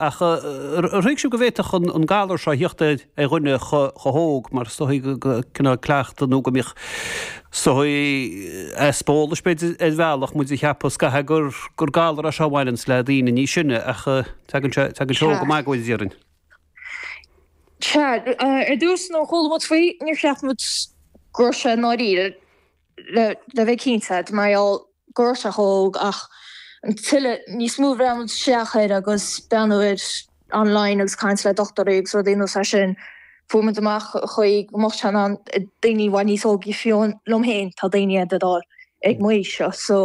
Ach ar thuig sibh go bhféadfadh an galar seo a thíocht ar dhuine chomh hóg, mar is dóigh go cineál cleachtadh nó go mbíodh is dóigh easpa eolais b'fhéidir ar bhealach, muid ag ceapadh scaithe gur gur galar é seo a bhaineanns le daoine níos sine ach tagann sé tagann sé óg go maith go bhfuil déarfainn. Sea, ar dtús nuair a chuala muid faoi níor cheap muid go raibh sé i ndáiríre. le bheith cinnte, mar gheall go raibh sé chomh hóg ach an tuilleadh, níos mó a bhreathnaigh muid isteach air agus breathnú air online agus caint le dochtúirí agus rudaí ar nós é sin, fuair muid amach an chaoi go mbeadh sé in ann daoine i bhfad níos óige fiú liom féin, tá daoine ag dul ag m'aois seo so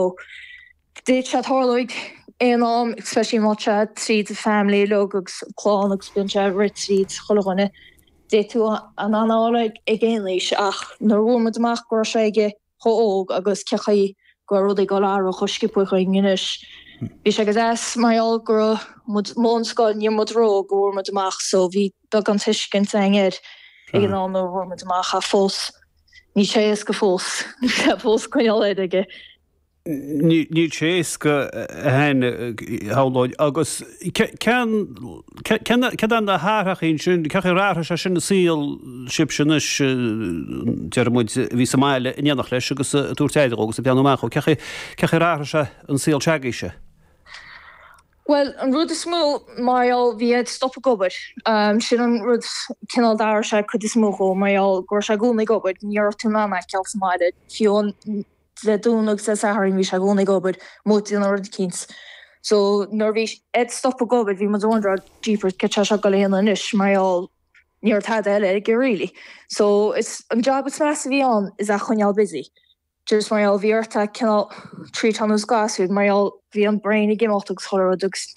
d'fhéadfadh sé tarlú ag aon am, especially má tá sé tríd an family uilig agus clann agus bíonn sé ag rith tríd chuile dhuine. D'fhéadfadh tú an fháil ag aon aois ach nuair a fuair muid amach go raibh sé aige chomh óg agus cé chaoi go raibh rudaí ag dul athrú chomh sciobtha chugainn anois, bhí sé go deas mar gheall go raibh muid amuigh ón scoil, ní raibh muid ró-óg go bhfuair muid amach so bhí beagán tuiscint againn air ag an am nuair a fuair muid amach ach fós níl sé éasca fós, níl sé fós coinneáil air aige. Níl sé éasca a Áine, shamhlóinn. Agus cén, céard é na hathrachaí ansin, cén chaoi ar athraigh sé sin an saol sibhse anois, déarfaidh muid, a bhí sa mbaile in éineacht leis agus ag tabhairt aire dhó agus ag breathnú amach dhó, cén chaoi, cén chaoi ar athraigh sé an saol se'agaibhse? Bhuel, an rud is mó, mar gheall, bhí Ed stop ag obair. Sin an rud cineál d'athraigh sé cuid is mó dhó, mar gheall go raibh sé i gcónaí ag obair, ní raibh tú in ann é a fheiceáil sa mbaile, fiú an. Dé Domhnaigh agus Dé Sathairn bhí sé i gcónaí ag obair, amuigh ag déanamh rud eicínt. So nuair a bhí Ed stop ag obair bhí muid ag wondering jeepers céard tá sé ag dul a dhéanamh anois mar gheall ní raibh tada eile aige really. So is an job is measa a bhí ann is é a choinneáil busy. Just mar gheall bhí ort é cineál treatáil ar nós gasúir mar gheall bhí an brain ag imeacht agus chuile rud agus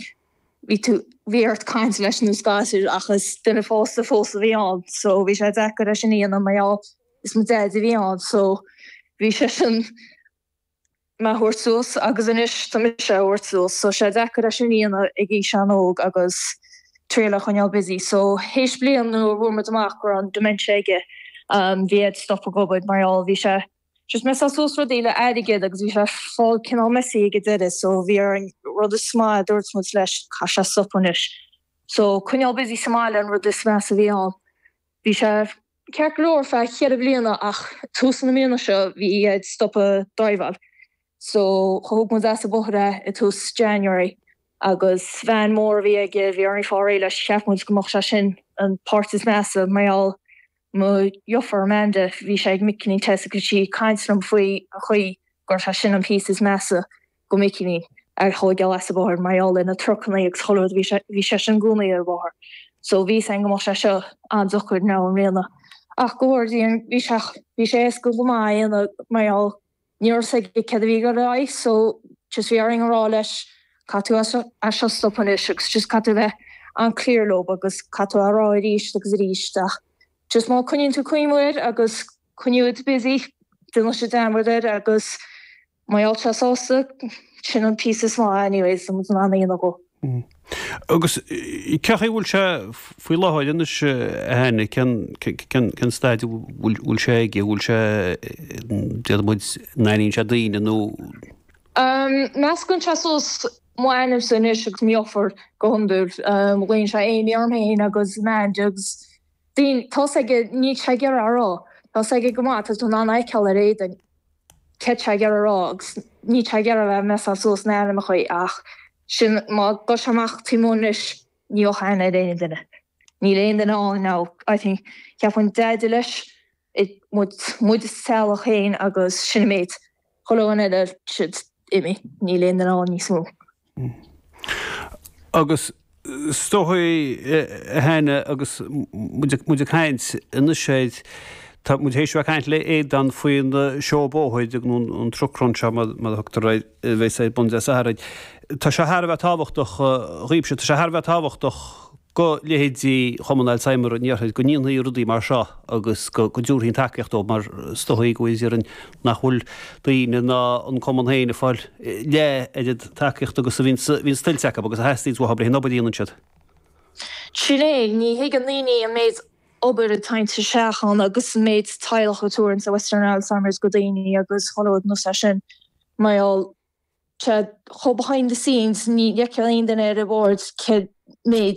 bhí tú bhí ort caint leis ar nós gasúir ach is duine fásta fós a bhí ann so bhí sé deacair é sin a dhéanamh mar gheall is mo Dhaid a bhí ann so bhí seisean mé a thabhairt suas agus anois tá mise á thabhairt suas so sé deacair é sin a dhéanamh ag aois an-óg agus triail a choinneáil busy so théis bliain nuair a fuair muid amach go raibh an dementia aige bhí Ed stop ag obair mar gheall bhí sé just messáil suas rudaí le airgead agus bhí sé fáil cineál messy ag an deireadh so bhí orainn rud is maith a dúirt muid leis caithfidh sé stop anois so coinneáil busy sa mbaile an rud is measa a bhí ann bhí sé Ceart go leor feadh cheithre bliana ach tús na mbliana seo bhí Ed stoptha driveáil so thóg muid as an bóthar é i tús January agus veain mór a bhí aige bhí orainn fáil réidh leis cheap muid go mbeadh sé sin an páirt is measa mar gheall mo dheirfiúr Amanda bhí sé ag Micilín Tess agus sí ag caint liom faoi an chaoi go raibh sé sin an píosa is measa go Micilín a thóigeáil as an bhóthar mar gheall ar na trucannaí agus chuile rud bhí sé bhí seisean i gcónaí ar an bhóthar so bhí 'fhios a'inn go mbeadh sé seo an-deacair now i mbliana ach go bhfóire Dia bhí sé bhí sé éasca go maith a dhéanamh mar gheall ní raibh 'fhios aige céard a bhí ag dul ar aghaidh so just bhí orainn a rá leis caithfidh tú as as seo stop anois agus just caithfidh tú a bheith an-clear leo agus caithfidh tú a rá arís agus arís ach just má coinníonn tú cuimhne air agus coinníonn tú busy déanann sé dearmad air agus Má tá sé sásta, sin an píosa is mó anyways tá muid in ann a dhéanamh dhó. Agus cén chaoi a bhfuil sé faoi láthair anois a Áine, cén staid a bhfuil sé aige, bhfuil sé, déarfaidh muid, an aithníonn sé daoine nó? Meascann sé suas m'ainmse anois agus mo dheirfiúr go hiondúil. Glaonn sé Amy orm féin agus Amanda agus daoine, tá 'fhios aige, níl sé ag iarraidh a rá, tá 'fhios aige go maith, tá tú in ann a fheiceáil ar a éadan. céard tá sé ag iarraidh a rá agus níl sé ag iarraidh a bheith ag messáil suas na ainmneacha ach sin má gabh sé amach taobh amuigh anois ní bheadh aithne ar aon duine. Níl aon duine ann now I think cheapfainn deaide leis muid muid sa teaghlach féin agus sin an méid. Chuile dhuine eile siad imithe níl aon duine ann níos mó. Agus is dóigh, a Áine, agus muid ag caint anois air, tá muid théis a bheith ag caint le Aodán faoin seó bóthair nó an truck run seo mar a thugtar air, a bheas ar bun Dé Sathairn. Tá sé thar a bheith tábhachtach dhaoibhse, tá sé thar a bheith tábhachtach go leithéidí Chumann Alzheimer an Iarthair go ndéanfaí rudaí mar seo agus go dtabharfaí an tacaíocht dóibh mar is dóigh go bhfuil nach bhfuil daoine ná an cumann féin ag fáil leath oiread tacaíochta agus a bhíonns tuillte acu agus a theastaíonns uathu leis an obair a dhéanann siad. Sin é, ní thuigeann daoine an méid obair atá isteach ann agus an méid teaghlach a tabhaireann sa Western Alzheimer's go daoine agus chuile rud nós é sin mar gheall sé chomh behind the scenes, ní fheiceann aon duine ar an bhord cé. méid.